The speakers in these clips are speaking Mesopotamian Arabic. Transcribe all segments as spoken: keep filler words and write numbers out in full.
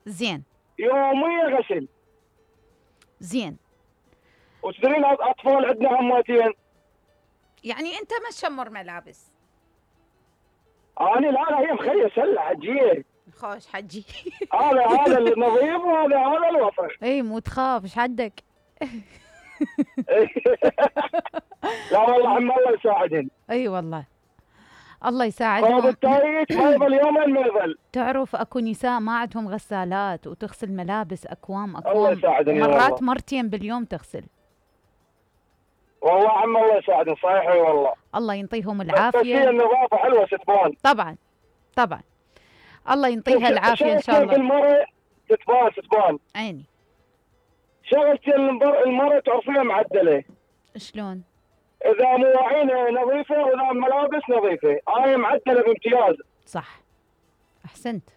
زين. يوميا غسل. زين. وتدرين اطفال عندنا عماتين. يعني انت ما تشمر ملابس؟ انا لا لا هي مخليه سله حجيه. خوش حجي. هذا هذا النظيف وهذا هذا الوسخ. اي مو تخاف ايش حدك؟ لا والله عم الله يساعدهم. اي والله الله يساعدهم. فهذا التايت ما يظل يومين ما يظل. تعرف اكو نساء ما عندهم غسالات وتغسل ملابس اكوام اكوام. الله يساعدهم مرات مرتين باليوم تغسل. والله عم الله يساعدهم صحيح اي والله. الله ينطيهم العافيه. بس هي النظافه حلوه ستبان. طبعا طبعا الله ينطيها العافيه ان شاء الله. المرة تتبان تتبان. عيني. شغلتي المرة تعرفيها معدله. شلون؟ اذا مواعين نظيفه واذا ملابس نظيفه، انا معدله بامتياز. صح احسنت.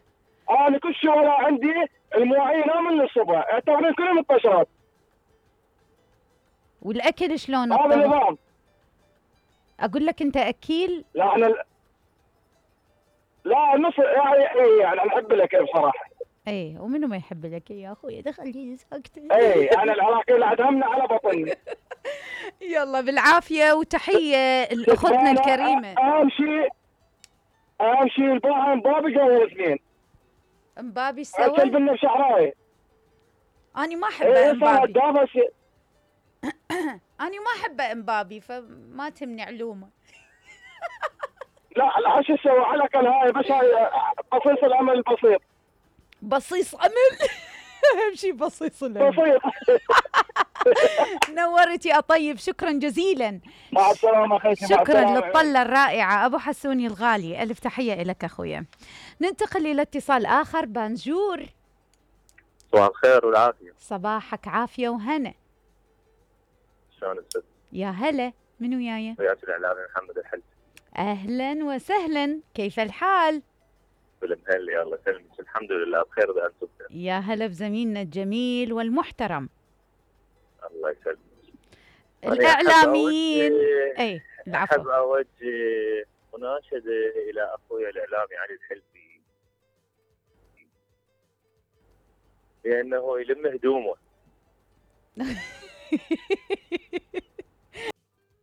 انا كل شغله عندي المواعين من الصبح اعتبرين كلهم الطشرات. والاكل شلون؟ هذا النظام. اقول لك انت اكيل؟ لا انا لا نص يعني يعني نحب الاكل بصراحه. ايه ومنو ما يحب لك يا اخوي؟ دخليني ساكته. ايه انا العراقيل عدمنا على بطني. يلا بالعافيه وتحيه لاختنا الكريمه. اهم شيء اهم شيء الباعة مبابي جو الاثنين. مبابي سوى؟ ارسل بنا بشعرايه. اني ما احب ايه مبابي. ايه اني ما احب مبابي فما تهمني علومه. لا لا شو اسوي على الاقل هاي بس هاي بصيص الامل البسيط. بصيص امل. اهم شيء بصيص الامل. بسيط. نورت يا طيب شكرا جزيلا. مع السلامه اخيتي. شكرا للطله الرائعه ابو حسوني الغالي. الف تحيه لك اخويا. ننتقل الى اتصال اخر. بانجور. صباح الخير والعافيه. صباحك عافيه وهنا. شلون الست؟ يا هلا من وياي؟ وياك الاعلامي محمد الحلي. اهلا وسهلا كيف الحال؟ بالمهل الله يسلمك. الحمد لله بخير اذا انتم بخير. يا هلا بزميلنا الجميل والمحترم. الله يسلمك. الاعلاميين. اي العفو. احب اوجه مناشده الى اخوي الاعلامي علي الحلفي بانه يلم هدومه.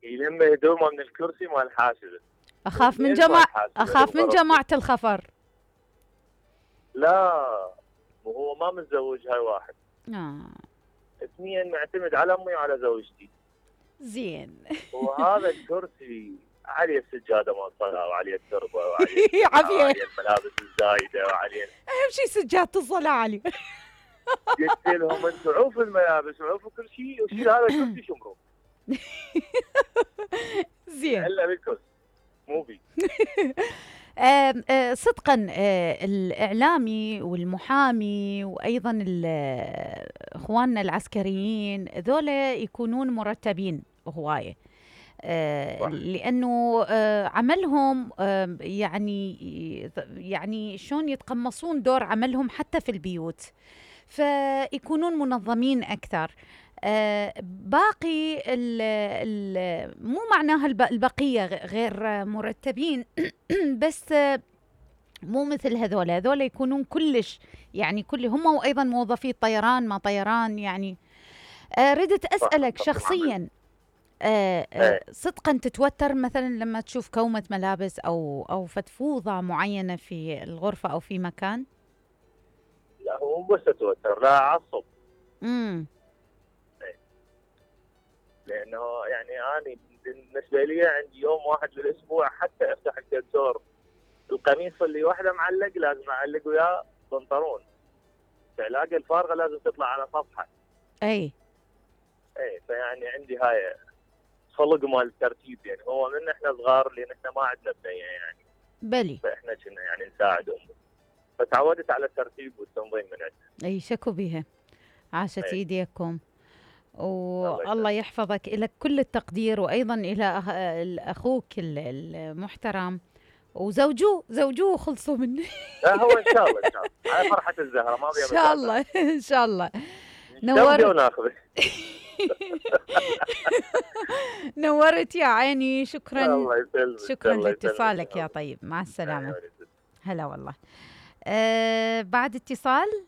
يلم هدومه من الكرسي مال حاشده. اخاف من جماعه اخاف من جماعه الخفر. لا وهو ما متزوج هاي واحد. اه اثنين معتمد على امي وعلى زوجتي. زين. وهذا الكرسي عليه السجاده مال الصلاه وعليه التربه وعليه عافيه الملابس الزايده وعليه اهم شيء سجاده الصلاه علي. قلت لهم انتم عوفوا الملابس وعوفوا كل شيء وشيل هذا الكرسي شمروه. زين. الا بالكرسي مو بي. آه آه صدقا آه الاعلامي والمحامي وايضا اخواننا العسكريين ذولا يكونون مرتبين هوايه. آه لانه آه عملهم آه يعني يعني شلون يتقمصون دور عملهم حتى في البيوت فيكونون منظمين اكثر. آه باقي ال ال مو معناها البقيه غير مرتبين بس آه مو مثل هذول. هذول يكونون كلش يعني كل هم وايضا موظفي الطيران ما طيران يعني. آه ردت اسالك شخصيا آه آه صدقا تتوتر مثلا لما تشوف كومه ملابس او او فتفوضه معينه في الغرفه او في مكان؟ لا هو مو بس اتوتر لا اعصب. امم لانه يعني انا بالنسبه لي عندي يوم واحد بالاسبوع حتى افتح الكنتور القميص اللي واحده معلق لازم اعلق وياه بنطلون. العلاقه الفارغه لازم تطلع على صفحه. اي اي فيعني عندي هاي خلق مال الترتيب يعني هو من احنا صغار لان احنا ما عندنا بنيه يعني. بلي. فاحنا كنا يعني نساعد امي. فتعودت على الترتيب والتنظيم من عندنا. اي شكو بها. عاشت ايديكم. والله يحفظك. لك كل التقدير وايضا الى اخوك المحترم وزوجوه زوجوه خلصوا منه. لا هو ان شاء الله ان شاء الله على فرحه الزهره ما بيها. ان شاء الله ان شاء الله. نورت. نورت يا عيني. شكرا. الله يسلمك. شكرا لاتصالك يا طيب. مع السلامه. هلا والله. آه بعد اتصال